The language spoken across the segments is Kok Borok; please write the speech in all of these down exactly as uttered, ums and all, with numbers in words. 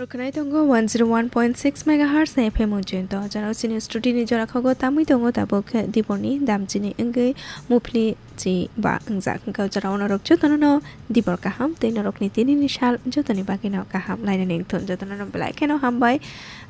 Khwnai tongo one zero one point six megahertz F M Ujjain to. Jora chini studio ni jora khago tamwi tongo tabuk diborni damchini wngwi muphli chi ba wngjak. Hwnkhe jora o norok jotono no dibor kaham tei norokni tinini sal jotoni bagwi no kaham lainani wngthun. Jotono no belai kheno hambai.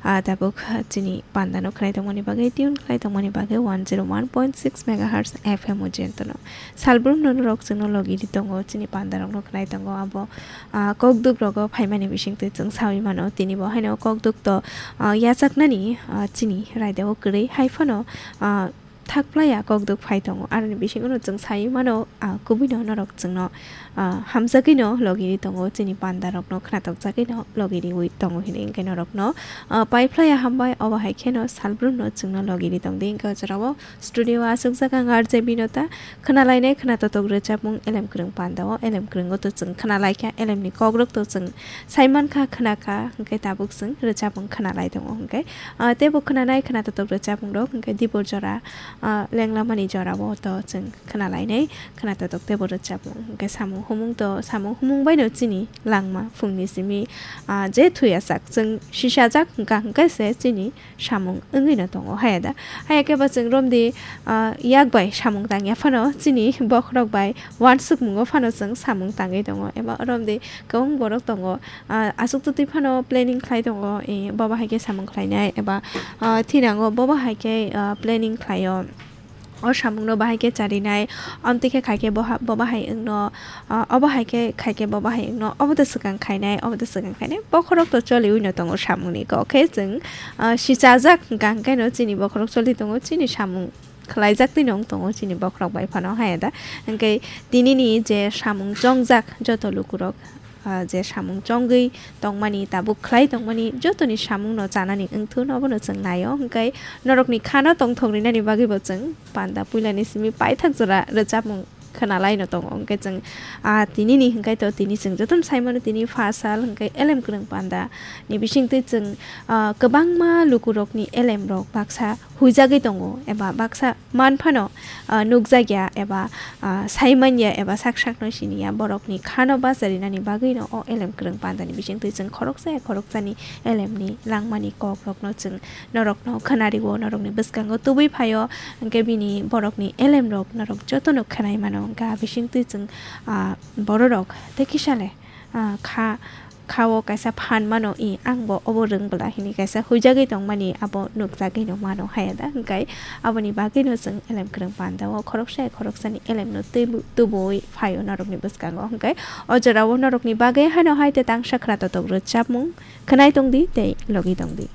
Ah, tabuk chini panda no khwnai tongmani bagwi, tune khwnai tongmani bagwi one zero one point six megahertz F M Ujjain to no. Salbrum no norok chwngno logi di tongo, chini panda rok no khwnai tongo abo. Ah, kokduk rogo phaimani bisingtwi chwng sawi mano, tini bo haino kokduk to, ah, yachaknani, ah, chini raida o kwrwi, hai phano, ah, thak playa kokduk phai tongo, aroni bisingo no chwng sawi mano, ah, kubui no norok chwngno, ah, hamjagwi no logi ri tongo, chini panda rok no khnatok jagwi no logi riwi tongo hinwi hwnkhe norok no, ah, pai playa hambai, obo hai kheno salbrum no chwngno logi ri tongdi, hwnkhe o jorao studio o aswkjak ang R J Binota. Khwnalainai khwnatotok rwchapmung elem kwrwng panda o, elem kwrwngo to chwng khwnalaikha, elemni kokrok to chwng saimankha, khwnakha, hwnkhe tabuk chwng rwchapmung khwnalai tongo hwnkhe, ah, teibo khwnanai khwnatotok rwchapmungrok hwnkhe dibor jora, ah, lenglamani jorao to chwng khwnalainai khwnatotok teibo rwchapmung hwnkhe samung humung to, samung humung baino chini langma phungni simi, ah, je thuyajak chwng sisajak hwnkha hwnkhe se chini samung wngwi no tongo, haya da? Haya khe ba chwng romdi, ah, yak bai samung tangya phano chini bokhorok bai uansukmungo phano chwng samung tangwi tongo, eba romdi kwbang borok tongo, ah, aswk twtwi phano planning khlai tongo, eh, bobo hai khe samung khlainai, eba, ah, thinango bobo hai khe, ah, planning khlaio. O samungno bahai khe charinai, amtwi khe khai khe boha-, bo bahai wngno, ah, obo hai khe khai khe bo bahai wngno, obo to swkang khainai, obo to swkang khainai, bokhorok to choliwi no tongo samungni kok khe chwng, ah, sichajak hwnkha hwnkhe no chini bokhorok choli tongo, chini samung khlaijak twi no wng tongo chini bokhorok bai phano haya da. Hwnkhe tinini je samung chongjak joto lukurok, ah, je samung chongwi tongmani, tabuk khlai tongmani, jotoni samungno chanani wngthun, obono chwng naio. Hwnkhe norokni khano tongthok rinani bagwibo chwng panda puilani simi paithak jora rwchapmung khwnalaino tongo. Hwnkhe chwng, ah, tinini hwnkhe to tini chwng jotono saimano tini pha sal hwnkhe elem kwrwng panda ni bisingtwi chwng, ah, kwbangma lukurokni elemrok baksa huijagwi tongo eba baksa man phano, ah, nukjakya eba, ah, saimanya eba sak sakno siniya, borokni khano bacharinani bagwino o elem kwrwng pandani bisingtwi chwng khoroksa ya khoroksani elemni langmani kokrokno chwng norokno khwnariwo, norokni bwskango tubui phaio, hwnkhe bini borokni elemrok norok jotono khwnai mano, hwnkhe a bisingtwi chwng, ah, bororok tei kisale, ah, kha, khao kaisa phan mano, i, ang bo obo rwng bwla hini kaisa huijagwi tongmani abo nukjagwi no mano haya da, hwnkhe aboni bagwino chwng elem kwrwng pandao khoroksa ya khoroksani elemno tubu-, tubui phaio norokni bwskango, hwnkhe o jorao norokni bagwi haino hai tei tangsa khwna totok rwchapmung khwnai tongdi tei logi tongdi.